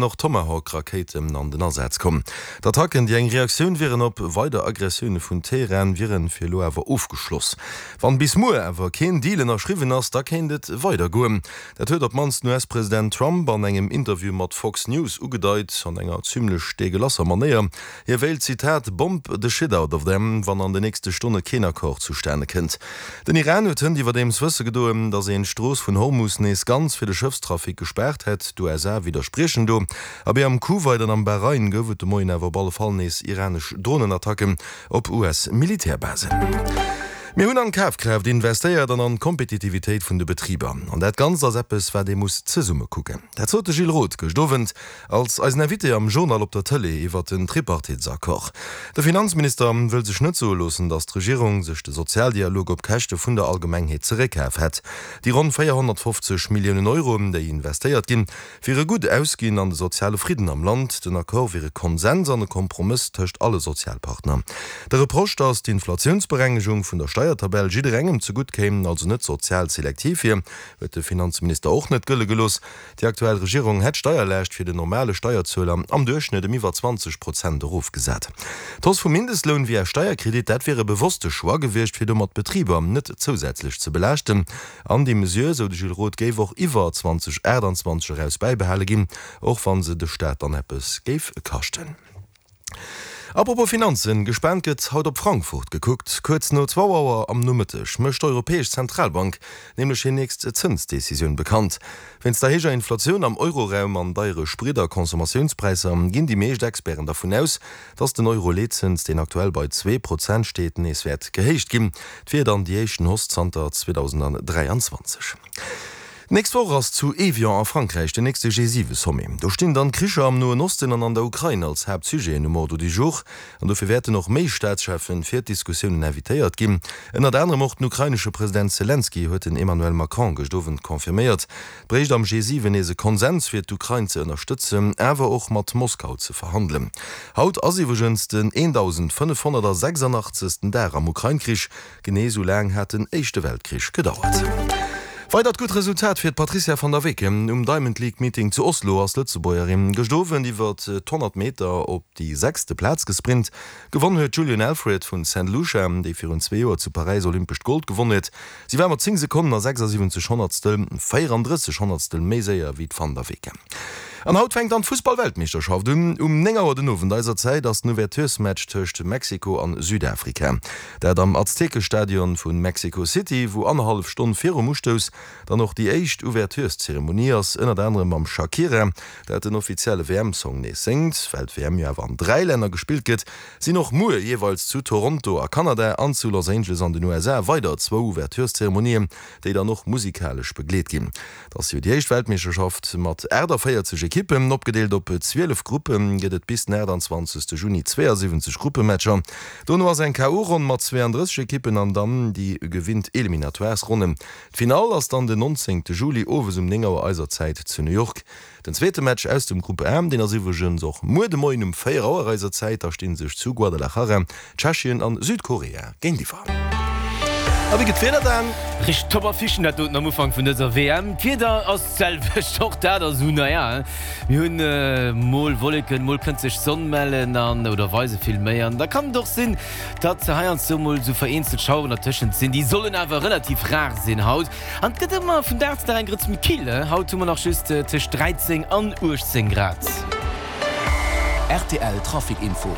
Och Tomahawk-Rakéiten an den Asaz komm. D'Attacken, déi eng Reaktioun wieren op weider Aggressioune vun Teheran, wieren fir elo awer ofgeschloss. Wann bis muer awer keen Deal ënnerschriwwen ass, da kéint et weider goen. Dat huet op d'mannst den US-President Trump an engem Interview mat Fox News ugedeit, an enger zimmlech deegelasser Manéier. Hie wéilt, Zitat, bomb the shit out of them, wann an de nächste Stonne keen Accord zustane kënnt. Den Iran huet hënt iwwerdeems wësse gedoen, datt een d'Strooss vun Hormus nees ganz fir de Schëffstrafic gespaart hätt. D'USA widderspriechen do. Abee am Kuwait an am Bahrain gouf et de Moien awer op alle Fall nees iranesch Dronenattacken op US-Militärbasen. Mir hunn an d'Kafkraaft investéiert an an d'Kompetitivitéit vun de Betriber. An dat Ganzt ass eppes, wat ee muss zesumme kucken. Dat sot de Gilles Roth gëscht Owend Als eisen Invité am Journal op der Tëlee iwwert den Tripartitesaccord. De Finanzminister wëll sech net soe loossen, datt d'Regierung sech de Sozialdialog op Käschte vun der Allgemengheet zeréckkaf hätt. Déi ronn 450 Milliounen Euro, déi investéiert ginn, wiere gutt ausginn an de soziale Fridden am Land. Den Accord wier e Konsens an e Kompromëss tëscht alle Sozialpartner. De Reproche, datt d'Inflatiounsberengegung vun der Steiertabell jidderengem zegutt kéim, also net sozial selektiv wier, huet de Finanzminister och net gëlle gelooss. Déi aktuell Regierung hätt d'Steierlaascht fir den normale Steierzueler am Duerchschnëtt ëm iwwer 20 Prozent erofgesat. D'Hausse vum Mindestloun via Steierkredit, dat wier e bewosste Choix gewiescht, fir domat d'Betriber net zousätzlech ze belaaschten. An déi Mesure, sou de Gilles Roth, géif och iwwer 2028 eraus bäibehale ginn, och wa se de Staat dann eppes géif kaschten. Apropos Finanzen, gespaant gëtt haut op Frankfurt gekuckt. Kuerz no zwou Auer am Nomëtteg mécht d'Europäesch Zentralbank nämlech hir nächst Zënsdecisioun bekannt. Wéinst der héijer Inflatioun am Euroraum an deiere Sprit a Consommatiounspräisser ginn déi meescht Experten dervun aus, datt den Euro-Leetzëns, deen aktuell bei 2 Prozent steet, nees wäert gehéicht ginn. Et wier dann déi éischten Hausse zanter 2023. D'nächst Woch ass zu Evian a Frankräich den nächste G7-Sommet. Do stinn dann d'Kricher am Noen Osten an an der Ukrain als Haaptsujeten um Ordre du jour. An dofir wäerten och méi Staatscheffen fir d'Diskussiounen invitéiert ginn. Ënnert anerem och den ukrainesche President Selenskyj, huet den Emmanuel Macron gëscht Owend confirméiert. Et bréicht am G7 nees e Konsens fir d'Ukrain ze ënnerstëtzen, awer och mat Moskau ze verhandelen. Haut ass iwwregens den 1.586. Dag am Ukrain-Krich. Genee esou laang hat den Éischte Weltkrich gedauert. Weidert gutt Resultat fir d'Patrizia van der Weken. Um Diamond League Meeting zu Oslo ass d'Lëtzebuergerin gëscht Owend iwwer d'100 Meter op déi sechste Plaz gesprint. Gewonn huet d'Julien Alfred vun Saint Lucia, déi virun zwee Joer zu Paräis olympescht Gold gewonn huet. Si war mat 10 Sekonnen a 76 Honnertstel 34 Honnertstel méi séier wéi d'Van der Weken. An haut fänkt dann d'Fussball-Weltmeeschterschaft un. Um 9 Auer den Owend eiser Zäit ass den Ouverturesmatch tëscht Mexiko an Südafrika. Dat am Aztekestadion vu Mexico City, wou annerhallef Stonn virum Ustouss dann och déi éischt Ouvertureszeremonie ass, ënnert anerem mam Shakira, dat den offizielle WM-Song nees séngt. Well d'WM jo awer an 3 Länner gespillt gëtt, sinn och muer jeeweils zu Toronto a Kanada an zu Los Angeles an den USA weider zwou Ouvertureszeremonien, déi dann och musikalesch begleet ginn. Et ass jo déi éischt Weltmeeschterschaft mat 48 Ekippen. Opgedeelt op 12 Gruppe gëtt et bis den 28 Juni 72 Gruppematcher. Dono ass eng KO-Ronn mat 32 Ekippen an dann déi gewinnt Eliminatoires-Ronnen. D'Finall ass dann den 19 Juli owes um 9 Auer eiser Zäit zu New York. Den zweete Match aus dem Grupp A, deen ass iwwregens och muer de Moien um 4 Auer eiser Zäit. Da sti sech zu Guadalajara Tschechien an Südkorea géintiwwer. A wéi gëtt d'Wieder dann? Richteg top Affichen dat doten am Ufank vun dëser WM. D'Wieder ass d'selwecht, och dat ass esou, naja, mir hunn mol Wolleken, mol kënnt sech d'Sonn mellen an oder weise vill méi an da kann et och sinn, datt heiansdo mol esou vereenzelt Schaueren dertëschent sinn. Déi sollen awer relativ rar sinn haut. An et gëtt ëmmer vun Dag zu Dag eng Grëtz méi kill, haut hu mer nach just tëscht 13 an 18 Grad. Rtl Trafic Info.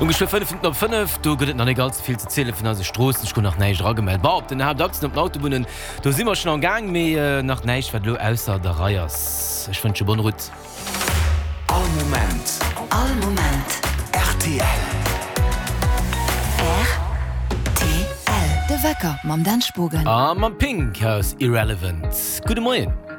Um geschwë 5 Minutten op 5, do gëtt et nach net all ze vill ze ziele vun eise Stroossen. Ech krut nach näischt eragemellt. Bon, op den Haaptachsen, op den Autobunnen, do si mer schonn am Gaang, mee nach näischt wat elo ausser der Rei ass. Ech wënsche bonne route. All Moment. All Moment. Rtl. Rtl. De Wecker mam Dan Spogen. A mam Pink aus Irrelevant. Gudde Moien.